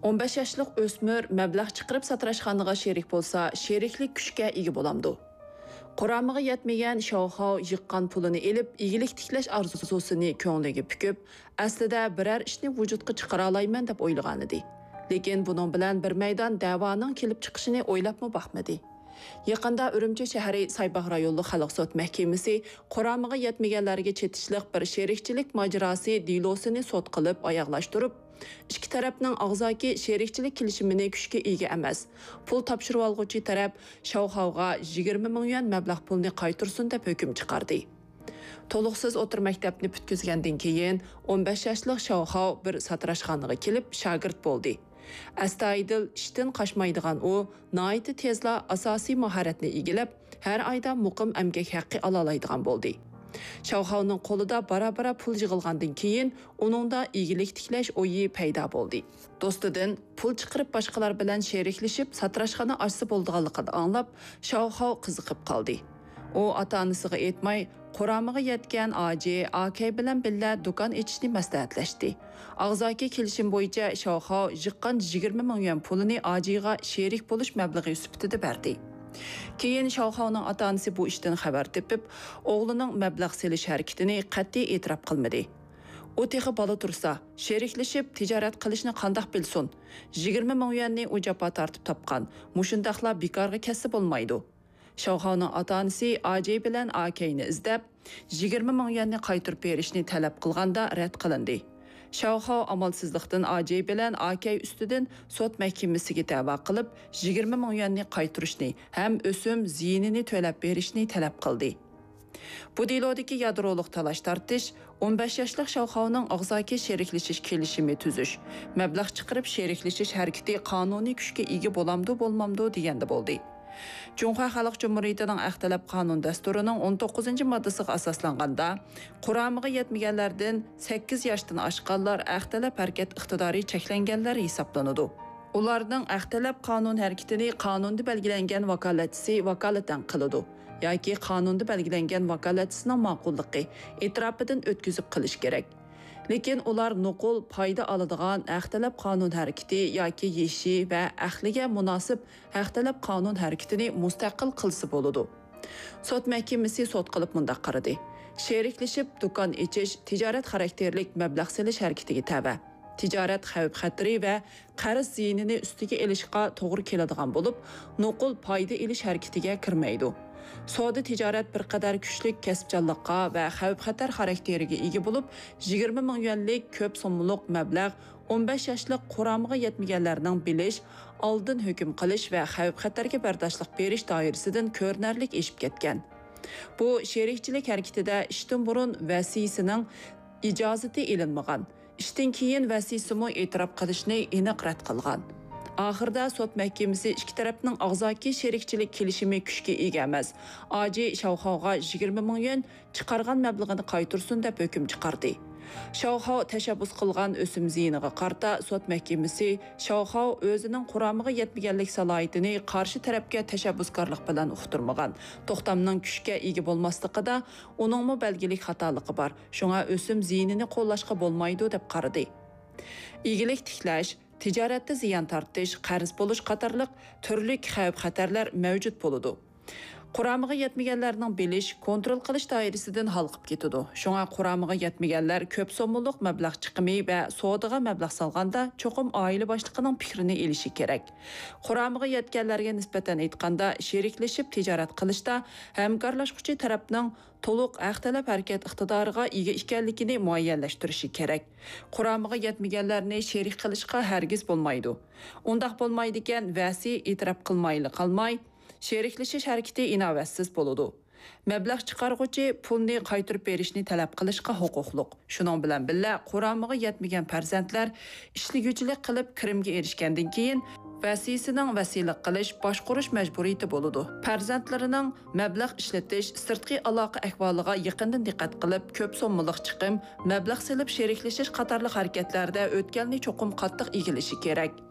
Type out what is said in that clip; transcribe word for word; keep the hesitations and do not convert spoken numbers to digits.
ئون بەش ياشلىق ئۆسمۈر مەبلەغ چىقىرىپ ساتىراشخانىغا شېرىك بولسا، شېرىكلىك كۈچكە ئىگە بولامدۇ؟ قۇرامىغا يەتمىگەن شاۋخاۋ يىغقان پۇلىنى ئېلىپ، ئىگىلىك تىكلەش ئارزۇسىنى كۆڭلىگە پۈكۈپ، ئەسلىدە بىرەر ئىشنى ۋۇجۇدقا چىقىرالايمەن دەپ ئويلىغانىدى. لېكىن بۇنىڭ بىلەن بىر مەيدان دەۋانىڭ كېلىپ چىقىشىنى ئويلاپمۇ باقمىدى. يېقىندا ئۈرۈمچى شەھىرى سايباغ رايونلۇق خەلق سوت مەھكىمىسى قۇرامىغا يەتمىگەنلەرگە چېتىشلىق بىر شېرىكچىلىك ماجىراسى دېلوسىنى سوت قىلىپ ئاياغلاشتۇرۇپ، ئىككى تەرەپنىڭ ئاغزاكى شېرىكچىلىك كېلىشىمىنى كۈچكە ئىگە ئەمەس، پۇل تاپشۇرۇۋالغۇچى تەرەپ شاۋخاۋغا يىگىرمە مىڭ يۈەن مەبلەغ پۇلنى قايتۇرسۇن دەپ ھۆكۈم چىقاردى. تولۇقسىز ئوتتۇرا مەكتەپنى پۈتكۈزگەندىن كېيىن، ئون بەش ياشلىق شاۋخاۋ بىر ساتىراشخانىغا كېلىپ شاگىرت بولدى. ئەستايىدىل، ئىشتىن قاچمايدىغان ئۇ ناھايىتى تېزلا ئاساسىي ماھارەتنى ئىگىلەپ، ھەر ئايدا مۇقىم ئەمگەك ھەققى ئالالايدىغان بولدى. شاۋخاۋنىڭ قولىدا بارا-بارا پۇل يىغىلغاندىن كېيىن، ئۇنىڭدا ئىگىلىك تىكلەش ئويى پەيدا بولدى. دوستىدىن پۇل چىقىرىپ باشقىلار بىلەن شېرىكلىشىپ ساتىراشخانا ئاچسا بولىدىغانلىقىنى ئاڭلاپ، شاۋخاۋ قىزىقىپ قالدى. ئۇ ئاتا-ئانىسىغا ئېيتماي، قۇرامىغا يەتكەن ئاجى ئاكەي بىلەن بىللە دۇكان ئېچىشنى مەسلىھەتلەشتى. ئاغزاكى كېلىشىم بويىچە شاۋخاۋ يىغقان يىگىرمە مىڭ يۈەن پۇلىنى ئاجىغا شېرىك بولۇش مەبلىغى سۈپىتىدە بەردى. كېيىن شاۋخاۋنىڭ ئاتا-ئانىسى بۇ ئىشتىن خەۋەر تېپىپ، ئوغلىنىڭ مەبلەغ سېلىش ھەرىكىتىنى قەتئىي ئېتىراپ قىلمىدى. ئۇ تېخى بالا تۇرسا، شېرىكلىشىپ تىجارەت قىلىشنى قانداق بىلسۇن؟ يىگىرمە مىڭ يۈەننى ئۇ جاپا تارتىپ تاپقان، مۇشۇنداقلا بىكارغا كەتسە بولمايدۇ. شاۋخاۋنىڭ ئاتا-ئانىسى ئاجى بىلەن ئاكەينى ئىزدەپ، يىگىرمە مىڭ يۈەننى قايتۇرۇپ بېرىشنى تەلەپ قىلغاندا رەت قىلىندى. شاۋخاۋ ئامالسىزلىقتىن ئاجى بىلەن ئاكەي ئۈستىدىن سوت مەھكىمىسىگە دەۋا قىلىپ، يىگىرمە مىڭ يۈەننى قايتۇرۇشنى ھەم ئۆسۈم زىيىنىنى تۆلەپ بېرىشنى تەلەپ قىلدى. بۇ دېلودىكى يادرولۇق تالاش-تارتىش، ئون بەش ياشلىق شاۋخاۋنىڭ ئاغزاكى شېرىكلىشىش كېلىشىمى تۈزۈش، مەبلەغ چىقىرىپ شېرىكلىشىش ھەرىكىتى قانۇنىي كۈچكە ئىگە بولامدۇ، بولمامدۇ دېگەندە بولدى. جۇڭخۇا خەلق جۇمھۇرىيىتىنىڭ ئەخلەت قانۇن دەستۇرىنىڭ ئون توققۇزىنچى ماددىسىغا ئاساسلانغاندا، قۇرامىغا يەتمىگەنلەردىن سەككىز ياشتىن ئاشقانلار ئەخلەت ھەرىكەت ئىقتىدارى چەكلەنگەنلەر ھېسابلىنىدۇ. ئۇلارنىڭ ئەخلەت قانۇن ھەرىكىتىنى قانۇندا بەلگىلەنگەن ۋاكالەتچىسى ۋاكالىتەن قىلىدۇ ياكى قانۇندا بەلگىلەنگەن ۋاكالەتچىسىنىڭ ماقۇللۇقى ئېتىراپىدىن ئۆتكۈزۈپ قىلىش كېرەك. لېكىن ئۇلار نوقۇل پايدا ئالىدىغان ھەق تەلەپ قانۇن ھەرىكىتى ياكى يېشى ۋە ئەھلىگە مۇناسىپ ھەق تەلەپ قانۇن ھەرىكىتىنى مۇستەقىل قىلسا بولىدۇ. سوت مەھكىمىسى سوت قىلىپ مۇنداق قارىدى: شېرىكلىشىپ دۇكان ئېچىش تىجارەت خاراكتېرلىك مەبلەغ سېلىش ھەرىكىتىگە تەۋە. تىجارەت خەۋپ-خەتىرى ۋە قەرز زىيىنىنى ئۈستىگە ئېلىشقا توغرا كېلىدىغان بولۇپ، نوقۇل پايدا ئېلىش ھەرىكىتىگە كىرمەيدۇ. سودا تىجارەت بىر قەدەر كۈچلۈك كەسىپچانلىققا ۋە خەۋپ-خەتەر خاراكتېرىگە ئىگە بولۇپ، يىگىرمە مىڭ يۈەنلىك كۆپ سوممىلىق مەبلەغ ئون بەش ياشلىق قۇرامىغا يەتمىگەنلەرنىڭ بىلىش، ئالدىن ھۆكۈم قىلىش ۋە خەۋپ-خەتەرگە بەرداشلىق بېرىش دائىرىسىدىن كۆرۈنەرلىك ئېشىپ كەتكەن. بۇ شېرىكچىلىك ھەرىكىتىدە ئىشتىن بۇرۇن ۋەسىيسىنىڭ ئىجازىتى ئېلىنمىغان، ئىشتىن كېيىن ۋەسىيسىمۇ ئېتىراپ قىلىشنى ئېنىق رەت قىلغان. ئاخىرىدا سوت مەھكىمىسى ئىككى تەرەپنىڭ ئاغزاكى شېرىكچىلىك كېلىشىمى كۈچكە ئىگە ئەمەس، ئاجى شاۋخاۋغا يىگىرمە مىڭ يۈەن، چىقارغان مەبلىغىنى قايتۇرسۇن دەپ ھۆكۈم چىقاردى. شاۋخاۋ تەشەببۇس قىلغان ئۆسۈم زىيىنىغا قارىتا سوت مەھكىمىسى شاۋخاۋ ئۆزىنىڭ قۇرامىغا يەتمىگەنلىك سالاھىيىتىنى قارشى تەرەپكە تەشەببۇسكارلىق بىلەن ئۇقتۇرمىغان، توختامنىڭ كۈچكە ئىگە بولماسلىقىدا ئۇنىڭمۇ بەلگىلىك خاتالىقى بار، شۇڭا ئۆسۈم زىيىنىنى قوللاشقا بولمايدۇ دەپ قارىدى. ئىگىلىك تىكلەش، تىجارەتتە زىيان تارتىش، قەرز بولۇش قاتارلىق تۈرلۈك خەۋپ-خەتەرلەر مەۋجۇت بولىدۇ. قۇرامىغا يەتمىگەنلەرنىڭ بىلىش، كونترول قىلىش دائىرىسىدىن ھالقىپ كېتىدۇ. شۇڭا قۇرامىغا يەتمىگەنلەر كۆپ سوممىلىق مەبلەغ چىقىمى ۋە سودىغا مەبلەغ سالغاندا چوقۇم ئائىلە باشلىقىنىڭ پىكرىنى ئېلىشى كېرەك. قۇرامىغا يەتكەنلەرگە نىسبەتەن ئېيتقاندا، شېرىكلىشىپ تىجارەت قىلىشتا ھەمكارلاشقۇچى تەرەپنىڭ تولۇق ھەق تەلەپ ھەرىكەت ئىقتىدارىغا ئىگە ئىكەنلىكىنى مۇئەييەنلەشتۈرۈشى كېرەك. قۇرامىغا يەتمىگەنلەرنى شېرىك قىلىشقا ھەرگىز بولمايدۇ. ئۇنداق بولمايدىكەن، ۋەسىي ئېتىراپ قىلمايلا قالماي، شېرىكلىشىش ھەرىكىتى ئىناۋەتسىز بولىدۇ. مەبلەغ چىقارغۇچى پۇلنى قايتۇرۇپ بېرىشنى تەلەپ قىلىشقا ھوقۇقلۇق. شۇنىڭ بىلەن بىللە، قۇرامىغا يەتمىگەن پەرزەنتلەر ئىشلىگۈچىلىك قىلىپ كىرىمگە ئېرىشكەندىن كېيىن، ۋەسىيسىنىڭ ۋەسىيلىك قىلىش، باشقۇرۇش مەجبۇرىيىتى بولىدۇ. پەرزەنتلىرىنىڭ مەبلەغ ئىشلىتىش، سىرتقى ئالاقە ئەھۋالىغا يېقىندىن دىققەت قىلىپ، كۆپ سوممىلىق چىقىم، مەبلەغ سېلىپ شېرىكلىشىش قاتارلىق ھەرىكەتلەردە ئۆتكەلنى چوقۇم قاتتىق ئىگىلىشى كېرەك.